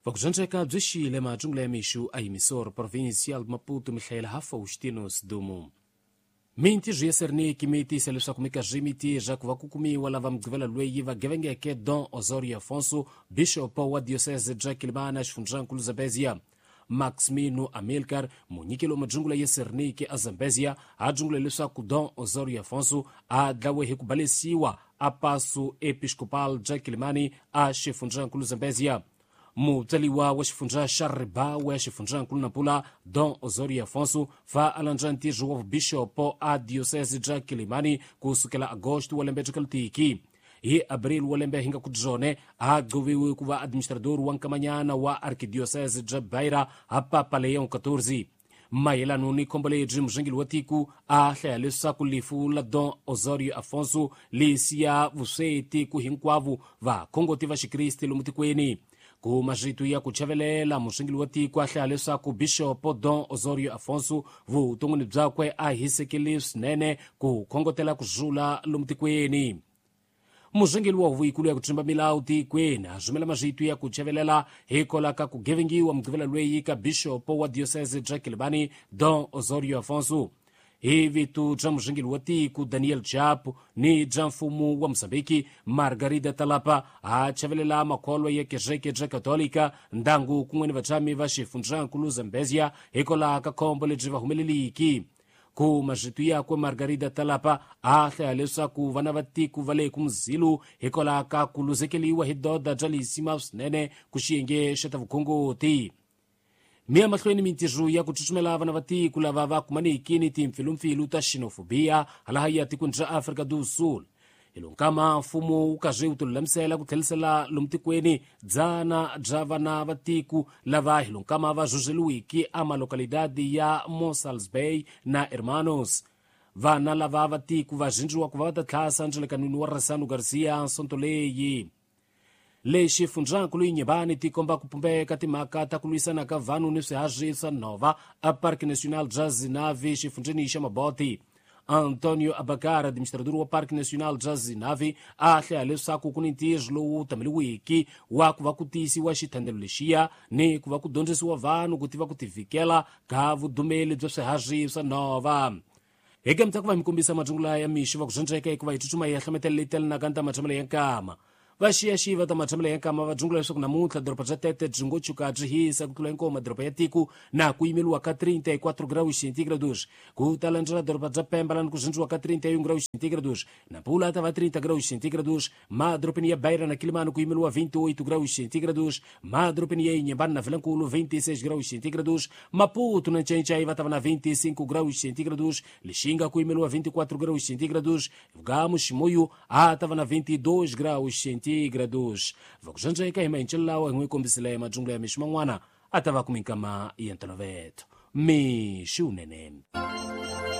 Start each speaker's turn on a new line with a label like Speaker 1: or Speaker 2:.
Speaker 1: Vakudzondzeka byi xile majungula ya mixu a emissora provincial de Maputo Mihaela Faustino Sidumo. Mintirho ya Serniki mi tiyisa leswaku minkarhi mi tirha ku va ku kumiwa lava Mugqivela loyi va gevengeke Dom Osorio Afonso, bishopo wa diocese bya Quelimane xifundzankulu Zambezia. Maximino Amilcar, munyikeli wa majungula ya Serniki a Zambezia, a dzungula leswaku Dom Osorio Afonso a dlawe hi ku balesiwa a paso episcopal bya Quelimane a xifundzankulu Zambezia. Mutsaliwa wa xifundza xa Ribawe xifundzankulu Nampula Dom Osorio Afonso va a landza ntirho wa vubixopo a diocese bya Quelimane ku sukela agosto wa lembe bya hi abril wa lembe hi nga ku byone a gcoviwe ku va administrador wa nkamanyana wa arkidiocese bya Beira ha Papa Leon XIV. Mayelano ni khombo lebyi murhangeri wa tiko a hlaya leswaku lifu la Dom Osorio Afonso li siya vusweti ku hinkwavo vakhongoti va xikriste lomu tikweni. Ku marito ya ku chavelela murhangeri wa tiko a hlaya leswaku bishopo Dom Osorio Afonso vuton'wini byakwe a hisekele swinene ku khongotela ku rhula lomu tikweni. Murhangeri wa huvo yikulu ya ku tshemba milawu tikweni a rhumela marito ya ku chavelela hikwalaho ka ku gevengiwa Mugqivela loyi ka bishopo wa diocese bya Quelimane Dom Osorio Afonso. Hi vito bya murhangeri wa tiko Daniel Chapo ni bya mfumo wa Mozambiki Margarida Talapa a chavelela makholwa ya kereke bya Katolika ndangu kun'we ni vatshami va xifundzankulu Zambezia hikwalaho ka khombo lebyi va humeleliki. Ku marito yakwe Margarida Talapa a hlaya leswaku vana va tiko va le ku muzilo hikwalaho ka ku luzekeliwa hi doda bya lisima swinene ku xiyenge xa ta vukhongoti. Mi ya mahlweni mintirho ya ku tsutsumela vana va tiko lava va kumaniki ni timpfilumpfilu ta xenophobia halaha ya tikweni ra Afrika do Sul. Hi lonkama mfumo wu karhi wu tilulamisela ku tlherisela lomu tikweni dzana bya vana va tiko lava hi lonkama va rhurheliwiki a malokalidadi ya Mossels Bay na Hermanos. Vana lava va tiko va rindziwa ku va va ta tlhasa ndzelekanwini wa Ressano Garcia sonto leyi. Lexi xifundzankulu Inhambane ti komba ku pumbeka timhaka ta ku lwisana ka vanhu ni swiharhi swa nhova a Parque Nacional bya Zinave xifundzeni xa Mabote. Antonio Abacar, administrador wa Parque Nacional bya Zinave, a hlaya leswaku ku ni ntirho lowu tameliwiki wa ku va ku tiyisiwa xithandelo lexiya ni ku va ku dyondzisiwa vanhu ku tiva ku tivikela ka vudumeli bya swiharhi swa nhova. Hi ka ku va mi kombisa majungula ya mixo va ku dyondzeka hikuva hi tsutsuma hi ya hlometela leyi telanaka ni ta matshamelo ya nkama. Va xiyaxiva ta matshamelo ya nkama va dzungula leswaku namuntlha doroba bya Tete byi ngo tshuka byi hisa ku tlula hinkwawo madoroba ya tiko na ku yimeliwa ka 34 graus centígrados. Ku ta landzela doroba bya Pemba lani ku zindziwa ka 31 graus centígrados. Nampula ta va 30 graus centígrados. Madorobeni ya Beira na Quelimane ku yimeliwa 28 graus centígrados. Madorobeni ya Inhambane na Vilankulo 26 graus centígrados. Maputo na Ncencai va ta va na 25 graus centígrados. Lixinga ku yimeliwa 24 graus centígrados. Vugamo Chimoio a ta va na 22 graus centígrados. Vakudzondzeka hi mahencelo lawa hi n'wi kombisile majungula ya mixo man'wana a ta va ku minkama ya ntolovelo. Mixo wunene.